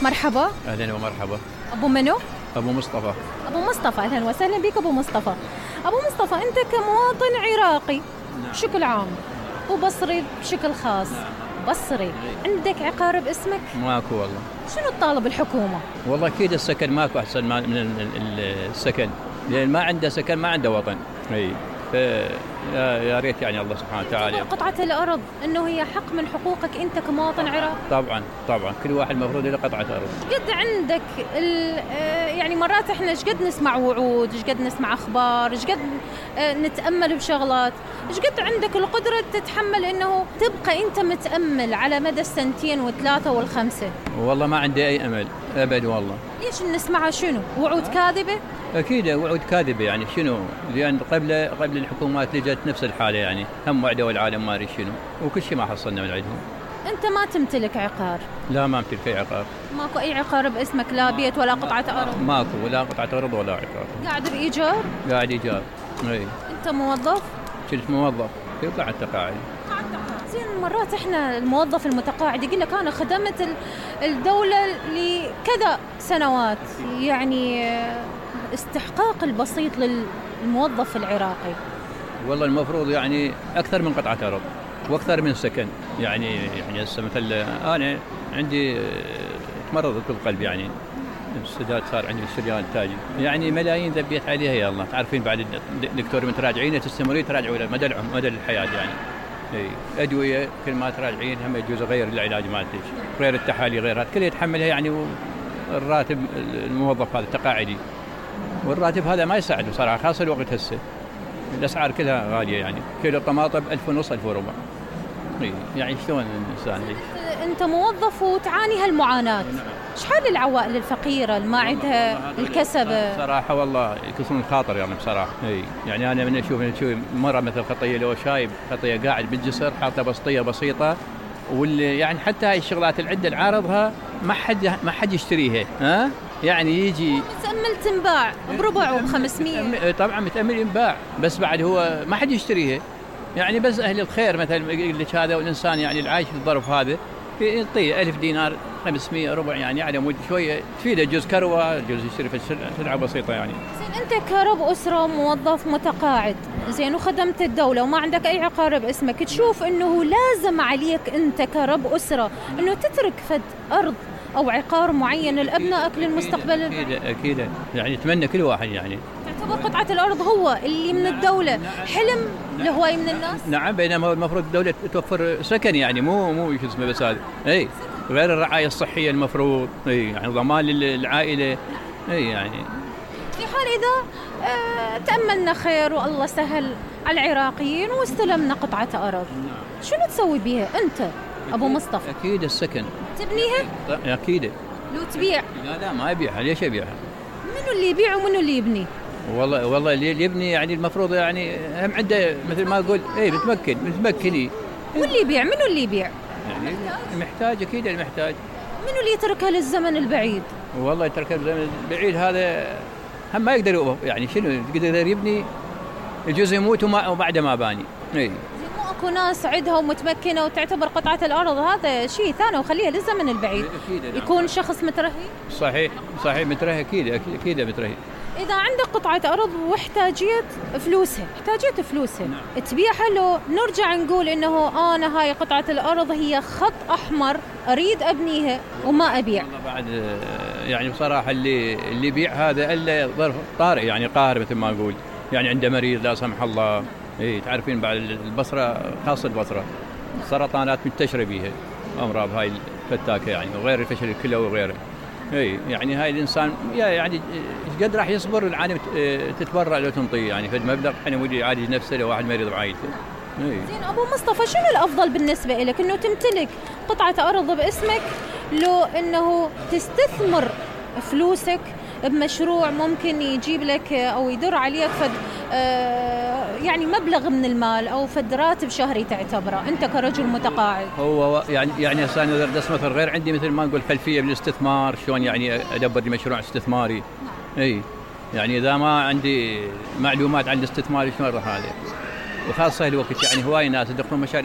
مرحبا. أهلا ومرحبا. أبو منو؟ أبو مصطفى. أبو مصطفى، أهلا وسهلا بك أبو مصطفى. أبو مصطفى، أنت كمواطن عراقي بشكل عام وبصري بشكل خاص. بصري، عندك عقار باسمك؟ ماكو والله. شنو تطالب الحكومة؟ والله أكيد السكن ماكو أحسن من السكن، لأن ما عنده سكن ما عنده وطن. اي يا ريت يعني الله سبحانه وتعالى. قطعة الأرض إنه هي حق من حقوقك أنت كمواطن عراقي. طبعا كل واحد المفروض له قطعة أرض. قد عندك يعني مرات احنا قد نسمع وعود، قد نسمع أخبار، قد نتأمل بشغلات، قد عندك القدرة تتحمل إنه تبقى أنت متأمل على مدى السنتين والثلاثة والخمسة؟ والله ما عندي أي أمل أبد والله. ليش نسمعها؟ شنو وعود كاذبة؟ أكيد وعود كاذبة، يعني شنو؟ لأن قبل الحكومات لجت نفس الحالة، يعني هم وعدوا العالم ما أدري شنو، وكل شيء ما حصلنا من عندهم. أنت ما تمتلك عقار؟ لا ما أمتلك أي عقار. ماكو أي عقار باسمك، لا بيت ولا قطعة أرض؟ ماكو ولا قطعة أرض ولا عقار. قاعد بإيجار؟ قاعد إيجار. أي. أنت موظف؟ كنت موظف قاعد تقاعد. زين، مرات احنا الموظف المتقاعد يقول لك انا خدمت الدولة لكذا سنوات، يعني استحقاق البسيط للموظف العراقي. والله المفروض يعني اكثر من قطعة ارض واكثر من سكن، يعني هسه مثل انا عندي تمرضت بالقلب، يعني السداد صار عندي السريان التاجي، يعني ملايين ذبيت عليها. يا الله تعرفين بعد الدكتور من تراجعينه تستمرين تراجعوا مدى الحياة، يعني أدوية كل ما تراجعين هم يجوز غير العلاج مالتك، غير التحاليل، غير هذا كله يتحملها، يعني الراتب الموظف هذا التقاعدي، والراتب هذا ما يساعده صراحة، خاصة الوقت هسه الأسعار كلها غالية، يعني كيلو الطماطم 1500 1400. يعني شلون الإنسان يعيش؟ أنت موظف وتعاني هالمعاناة. شحال العوائل الفقيرة اللي ما عندها الكسب؟ صراحة والله يكسرون الخاطر يعني بصراحة. يعني أنا من أشوف مرة مثل خطية، لو شايب خطية قاعد بالجسر حاطة بسطية بسيطة، واللي يعني حتى هاي الشغلات العدة اللي عارضها ما حد يشتريها، ها؟ يعني يجي متأمل تنباع بربع وب500. طبعا متأمل ينباع، بس بعد هو ما حد يشتريها، يعني بس أهل الخير مثلا يقول لك هذا، والإنسان يعني العايش في الظرف هذا يعطيه 1000 دينار 500 ربع، يعني على مود شوية تفيده، جزء كروة، جزء يشتري في سلعة بسيطة. يعني زين، أنت كرب أسرة موظف متقاعد، زين، وخدمت الدولة وما عندك أي عقار باسمك، تشوف إنه لازم عليك أنت كرب أسرة إنه تترك فد أرض أو عقار معين لأبنائك للمستقبل؟ أكيد يعني يتمنى كل واحد، يعني تعتبر قطعة الأرض هو اللي من الدولة حلم لهواي من الناس؟ نعم، بينما المفروض الدولة توفر سكن، يعني مو شو اسمه بس هذا، غير الرعاية الصحية المفروض، يعني ضمان للعائلة، يعني في حال إذا تأملنا خير والله سهل على العراقيين واستلمنا قطعة أرض، شنو تسوي بيها أنت أبو مصطفى؟ أكيد السكن. تبنيها؟ أكيد. لو تبيع؟ لا ما أبيعها، ليش أبيعها؟ منو اللي يبيع ومنو اللي يبني؟ والله اللي يبني يعني المفروض يعني هم عنده مثل ما أقول متمكني. واللي يبيع منو اللي يبيع؟ يعني المحتاج، أكيد المحتاج. منو اللي يتركها للزمن البعيد؟ والله يتركها للزمن البعيد، هذا هم ما يقدر، يعني شنو يقدر يبني الجزء يموت وبعد ما باني. مو اكو ناس عندها ومتمكنه وتعتبر قطعه الارض هذا شيء ثاني وخليها للزمن البعيد. يكون شخص مترهي. صحيح مترهي، اكيد مترهي. اذا عندك قطعه ارض واحتاجيت فلوسها، نعم. تبيعها، لو نرجع نقول انه انا هاي قطعه الارض هي خط احمر اريد ابنيها وما ابيع؟ بعد يعني بصراحه اللي يبيع هذا الا ظرف طارئ، يعني قاهر مثل ما اقول، يعني عنده مريض لا سمح الله. تعرفين بعد البصره، خاصه البصره السرطانات منتشره بيها، امراض هاي الفتاكه، يعني وغير الفشل الكلوي وغيره. يعني هاي الانسان يعني قد راح يصبر العالم تتبرع لو تنطيه، يعني فد مبلغ حين ودي يعالج نفسه لو واحد مريض بعائلته. زين ابو مصطفى، شنو الافضل بالنسبه لك، انه تمتلك قطعه ارض باسمك، لو انه تستثمر فلوسك بمشروع ممكن يجيب لك او يدر عليك فد يعني مبلغ من المال او فد راتب شهري تعتبره انت كرجل متقاعد؟ هو يعني انا درس مثل غير عندي مثل ما نقول خلفيه بالاستثمار، شلون يعني ادبر لي مشروع استثماري. يعني اذا ما عندي معلومات عن الاستثمار شلون راح هذا، وخاصه الوقت يعني هواي ناس يدخلون مشاريع